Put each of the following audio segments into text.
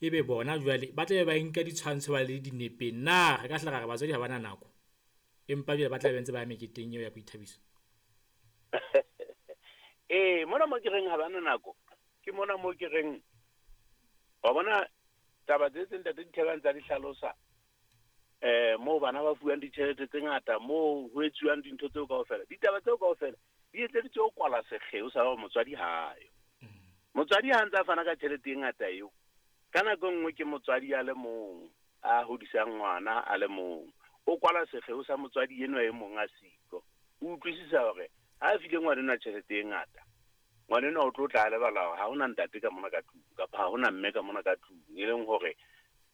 Ebe bona jwale ba tla be ba nka ditshwantsho ba le dinepeng. Na re ka hla ra re batswadi ha ba na nako, empa jwale ba tla be ntse ba ya meketeng eo ya boithabiso? Ee, mona mo ke reng ha ba na nako, ke mona mo ke reng wa bona taba tse tse ntate Dithebang tsa di hlalosa, moo bana ba fuwang ditjhelete tse ngata, moo ho etsuwang dintho tseo kaofela. Ditaba tseo kaofela di etseditswe ho kwala sekgeo sa hore motswadi ha yo. Motswadi ha ntse a fana ka tjhelete e ngata eo, ka nako e nngwe ke motswadi a le mong a hodisang ngwana a le mong. O kwala sekgeo sa motswadi enwa e mong a siko. O utlwisisa hore ha a file ngwanenwa tjhelete e ngata, ngwanenwa o tlo tla a lebala hore ha hona ntate ka mona ka tlung, kapa ha hona mme ka mona ka tlung, e leng hore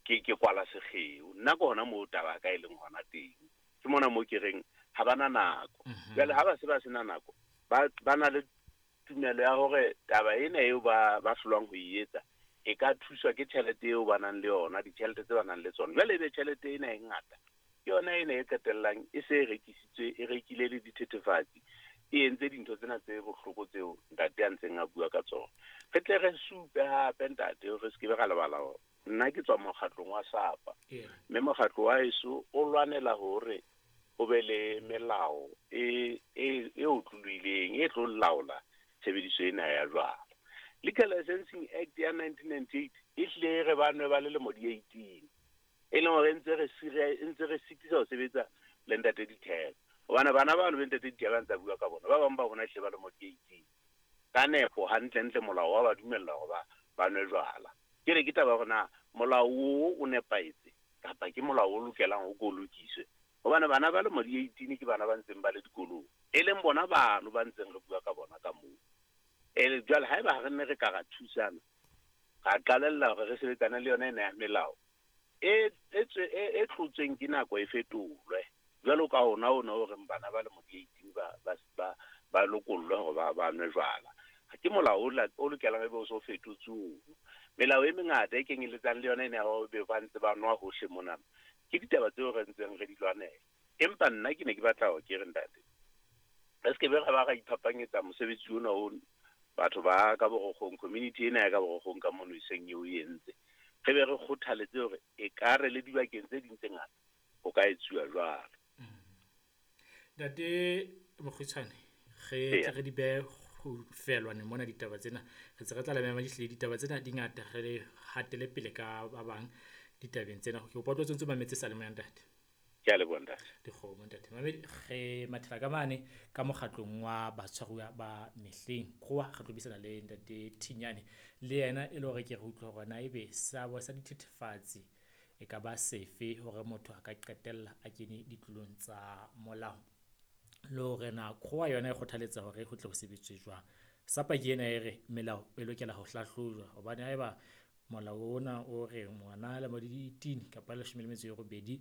ke kwala sekgeo. Nna ke hona moo taba ya ka e leng hona teng. Ke mona moo ke reng ha ba na nako. Jwale ha ba se ba sena nako, ba na le tumelo ya hore taba ena eo ba hlolwang ho e etsa e ka thuswa ke tjhelete eo ba nang le yona, ditjhelete tse ba nang le tsona. Jwale ebe tjhelete ena e ngata, ke yona ena e qetellang e se e rekisitswe, e rekile le dithethefatsi, e entse dintho tsena tse bohloko tseo ntate a ntseng a bua ka tsona. Re tle re supe hape ntate, re se ke be ra lebala hore nna ke tswa mokgatlong wa SAPA, mme mokgatlo wa heso o lwanela hore ho be le melao e otlolohileng e tlo laola tshebediso ena ya jwala. Liquor Licensing Act ya 1998 e hlile e re ba nwe ba le lemo di 18, e leng hore ntse re sitisa ho sebetsa le ntate Dithebe. Hobane bana bano be ntate Dithebe a ntse a bua ka bona, ba bang ba bona hlile ba lemo di 18. Ka nepo hantle-ntle molao wa ba dumella hore ba nwe jwala. Ke re ke taba hore na molao o nepahetse kapa ke molao o lokelang ho ko lokiswe. Hobane bana ba lemo di 18 ke bana ba ntseng ba le dikolong, e leng bona bano ba ntseng re bua ka bona ka moo. Jwale haeba ha re nne re ka ra thusana, ra qalella hore re sebetsane le yona ena ya melao e tlotsweng ke nako e fetolwe. Jwalo ka ona o reng bana ba lemo di 18 ba lokollwe hore ba nwe jwala. Ke molao o lokelang ebe o so fetotswe ono. Melao e mengata e kenyelletsang le yona ena ya hore be ba ntse ba nwa hohle mona, ke ditaba tseo re ntseng re di lwanela. Empa nna ke ne ke batla hore ke re ntate, re se ke be ra ba ra iphapanyetsa mosebetsi ona o batho ba ka Borokgong, community ena ya ka Borokgong ka mono e seng eo e entse. Re be re kgothaletse hore e ka re le dibakeng tse ding tse ngata ho ka etsuwa jwalo. Ntate Mokgutshwane, re tle re di behe ho felwane mona ditaba tsena. Re tse re tla le mema dihlile ditaba tsena di ngata, re hatele pele ka ba bang ditabeng tsena. Ke kopa o tlo ntse mametse sa le moya ntate. Ke a leboha ntate. Dikgomo ntate. Mamedi, re mathela ka mane ka mokgatlong wa batshwaruwa ba mehleng. Krowa re tlo buisana le ntate Thinyane le yena e le hore ke re utlwe hore na ebe seabo sa dithethefatsi e ka ba sefe hore motho a ka qetella a kene ditlolong tsa molao. Le hore na Krowa yona e kgothaletsa hore ho tle ho sebetswe jwang. SAPA ke ena e re melao e lokela ho hlahlojwa hobane haeba molao ona o re ngwana lemo di 18 kapa 18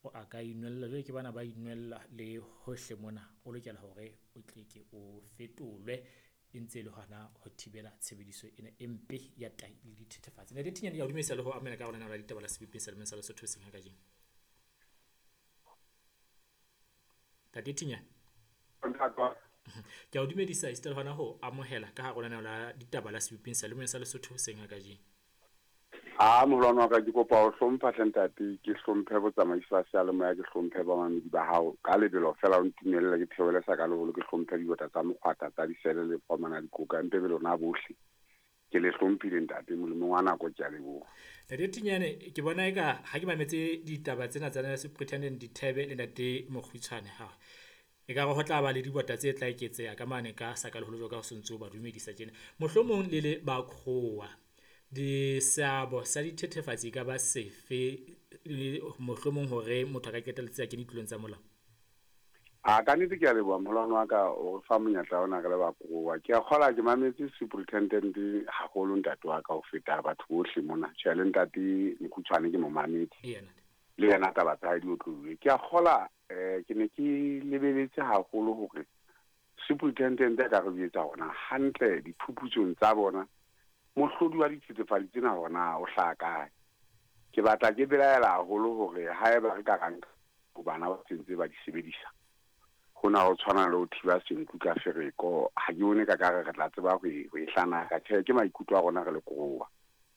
o a ka inwella, jwale ke bana ba inwella le hohle mona, o lokela hore o tle ke o fetolwe e ntse e le hona ho thibela tshebediso ena e mpe ya tahi le dithethefatsi. Ntate Thinyane, ke a o dumedisa le ho amohela ka hara lenaneo la ditaba la Sebopeng Selemeng sa Lesotho hoseng ha kajeno. Ntate Thinyane, ke a o dumedisa esita le hona ho amohela ka hara lenaneo la ditaba la Sebopeng Selemeng sa Lesotho hoseng ha kajeno. A moholwane wa ka, ke kopa ho hlompha hle ntate, ke hlomphe botsamaisi ba seyalemoya, ke hlomphe bamamedi ba hao. Ka lebelo fela o ntumelle ke theole sa ka leholo, ke hlomphe dibota tsa mokgwata tsa disele le fomana dikoka, mpe be lona bohle. Ke le hlomphile ntate, molemong wa nako ke a leboha. Ntate Thinyane, ke bona eka ha ke mametse ditaba tsena tsa Superintendent Dithebe le ntate Mokgutshwane, ha e ka re ho tla ba le dibota tse tla eketseha ka mane ka sa ka leholo jwalo ka ho sontso ba dumedisa tjena. Mohlomong le le ba Krowa, seabo sa dithethefatsi e ka ba sefe mohlomong hore motho a ka qetelletse a kene ditlolong tsa molao? A ka nnete ke a leboha moholwane wa ka o re fa monyetla ona re le ba Krowa. Ke a kgola ke mametse superintendent haholo ntate wa ka ho feta batho bohle mona. Tjhe, le ntate Mokgutshwane ke mo mametse. Le yena taba tsa hae di otlolohile. Ke a kgola ke ne ke lebeletse haholo hore superintendent a ka re jwetsa hore na hantle diphuputsong tsa bona mohlodi wa dithethefatsi tsena hore na o hlaha kae. Ke batla ke belaela haholo hore haeba re ka ra nka bana ba sentse ba di sebedisa, hona ho tshwana le ho thiba senku ka fereko. Ha ke bone ka kare re tla tseba ho e hlanaka. Tjhe, ke maikutlo a rona re le Krowa.